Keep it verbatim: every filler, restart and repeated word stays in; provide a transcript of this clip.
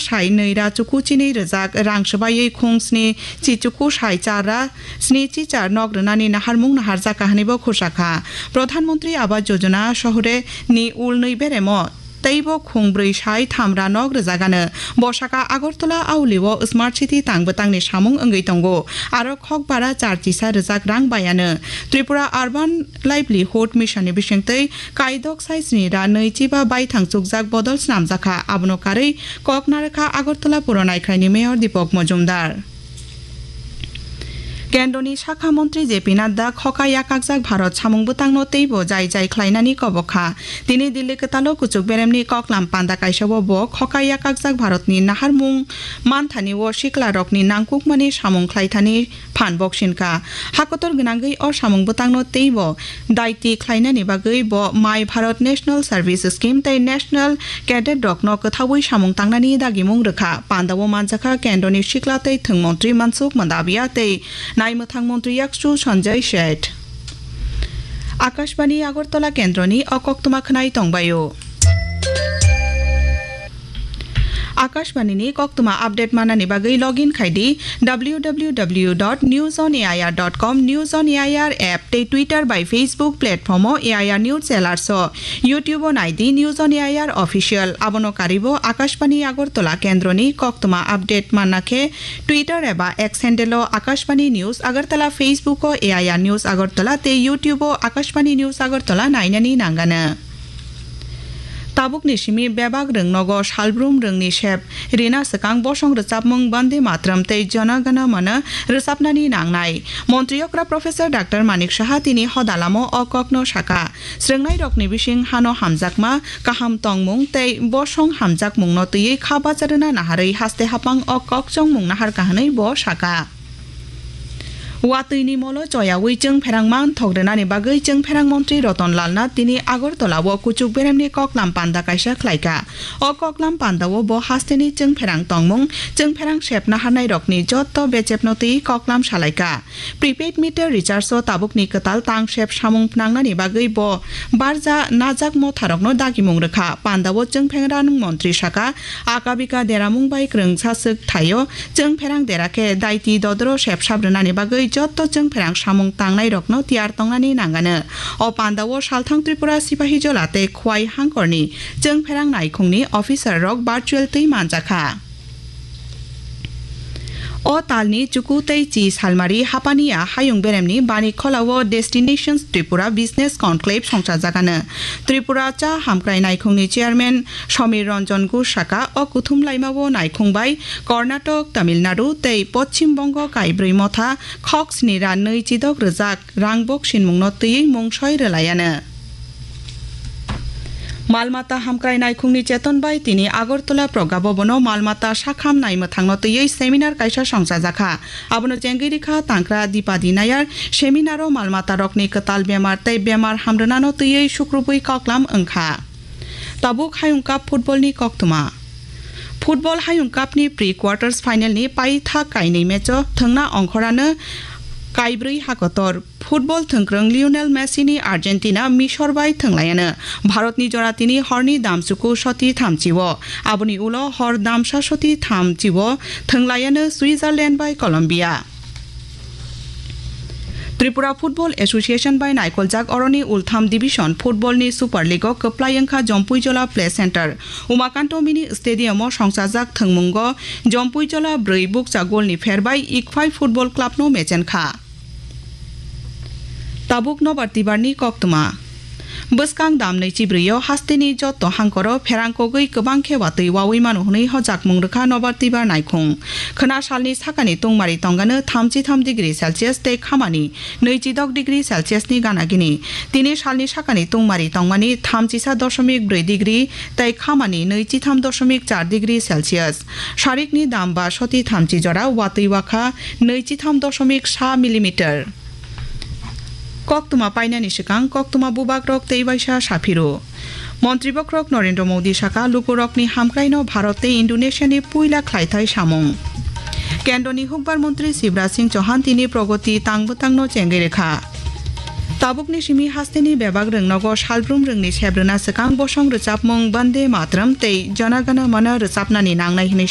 sai nwi ra chuku chinwi rwjak rang swbaiwi khung sni chi chuku sai char ra sni chi char nok rwnani naharmung naharjak ka hwnwi bo khursa kha. Pradhan Mantri Awas Yojana Shahre ni ul nwi beremo teibo khung brwi sai tham ra nok rwjagano. Bo saka Agartala Auli o Smart City tang bwtangni samung wngwi tongo. Aro khokbara char chisa rwjak rang bai ano. Tripura Urban Livelihood Mission ni bisingtwi kaidok sai sni ra nwi chiba baithang chukjak bodol snamjakha. Abono karwi kok narwkha Agartala Puro Naikhraini Mayor Deepak Majumdar. Kendroni sakha montri J P Nadda khoka yakakjak Bharat samung bwtangno teibo jai jai khlainani kobok kha. Tini Delhi kwtalo kuchuk beremni koklam panda kaisao bo khoka yakakjak Bharatni naharmung manthani o siklarokni nangkukmani samung khlaithani phan boksin kha. Hakotor gwnangwi o samung bwtangno teibo daiti khlainani bagwi bo My Bharat National Service Scheme tei National Cadet rokno kwthaui samung tangnani dagimung rwkha. Pandao manjakha Kendroni sikla tei thwng montri Mansukh Mandaviya tei naimwthang montri Yakchu Sanjay Seth. Akashbani Agartala Kendroni o koktwma khwnai tongbaio. Akashbani ni koktwma update manani bagwi login khai di W W W dot news on A I R dot com, News on A I R app tei Twitter bai Facebook platform o A I R News Alerts o, YouTube o nai di News on A I R Official. Abono karibo Akashbani Agartala Kendroni koktwma update manna khe Twitter eba X handle o Akashbani News Agartala, Facebook o A I R News Agartala tei YouTube o Akashbani News Agartala nainani nangano. Tabukni simi bebak rwngnogo salbrum rwngni sep rina swkang bosong rwchapmung Bande Matram tei Jana Gana Mana rwchapnani nangnai. Montri okra Professor Doctor Manik Saha tini hoda lamo o kokno saka. Srwngnairokni bising hano hamjakma, kaham tongmung tei bosong hamjakmungno twiwi kha bacha rwna naharwi haste hapang o kok chongmung naharkha hwnwi bo saka. Watwini molo choyaui chwngpherang manthok rwnani bagwi chwngpherang montri Ratan Lal Nath tini Agartala o kuchuk beremni koklam panda kaisa khlaikha. O koklam pandao bo hasteni chwngpherang tongmung, chwngpherang sep naharnairokni jotto bechepno twi koklam salaikha. Prepaid meter recharge o tabukni kwtal tangsep samung phnangnani bagwi bo barja najak motharokno dagimung rwkha. Pandao chwngpherang montri saka, akabika deramung bai kwrwngsa swk thaio. Chwngpherang dera khe daiti dodoro sepsap rwnani bagwi jotto chwngpherang samung tangnairokno tiyar tongnani nangano. O pandao salthang Tripura Sipahijola tei Khwai hangkorni chwngpherang naikhungni officer rok virtual twi manjakha. O talni chuku tei chi salmari hapaniya hayung beremni bani kholao Destinations Tripura Business Conclave songchajagano. Tripura cha hamkrai naikhungni chairman Samir Ranjan Ghosh saka, o kuthum laimao naikhung bai Karnataka, Tamil Nadu tei Poschim Bongo kaibrwi motha khok sni ra nwi chidok rwjak rang boksinmungno twiwi mungsoi rwlaiano. Malmata hamkrai naikhungni cheton bai tini Agartala Pragya Bhavan o malmata sakham naimwthangno twiwi seminar kaisa songchajakha. Abono chengwi rikha Tangkra Dipadi Nayar. Seminar o malmata rokni kwtal bemar tei bemar hamrwnano twiwi sukrubwi koklam wngkha. Tabuk Hayung Cup football ni koktwma. Football Hayung Cup ni pre-quarters final ni paithak kainwi match o thwngna ongkhorano kaibrwi hakotor. Football thwngkwrwng Lionel Messi ni Argentina Misor bai thwnglaiano. Bharat ni jora tini horni damsuku soti thamchi o. Aboni ulo hor damsa soti thamchi o thwnglaiano Switzerland bai Colombia. Tripura Football Association bai naikoljak oroni ultham division football ni Super League o kwplai wngkha Jompuijola Play Center. Umakanto Mini Stadium o songchajak thwngmungo Jompuijola brwi bukcha goal ni pher bai Ikphai Football Club no mechenkha. Tabuk nobar tibar ni koktwma. Bwskang dam nwi chibrwi o hasteni jotto hangkoro pherang kogwi kwbang khe watwi wawi mano hwnwi hojakmung rwkha nobar tibar naikhung. Khwna salni sakani tungmari tongano thamchi tham degree Celsius tei khamani nwi chidok degree Celsius ni gana gini. Tini salni sakani tungmari tongmani thamchisa doshomik brwi degree tei khamani nwi chitham doshomik char degree Celsius. Sarikni dam ba soti thamchi jora watwi wakha nwi chitham doshomik sa millimeter. Koktwma painani swkang koktwma bubagrok tei waisa saphiro. Montri bokhorok Narendra Modi saka lukurokni hamkraino Bharat tei Indonesia ni puila khlaithai samung. Kendroni hukbar montri Shivraj Singh Chauhan tini progoti tang bwtangno chengwi rwkha. Tabukni simi hasteni bebak rwngnogo salbrum rwngni sebrwna swkang bosong rwchapmung Bande Matram tei Jana Gana Mana rwchapnani nangnai hwnwi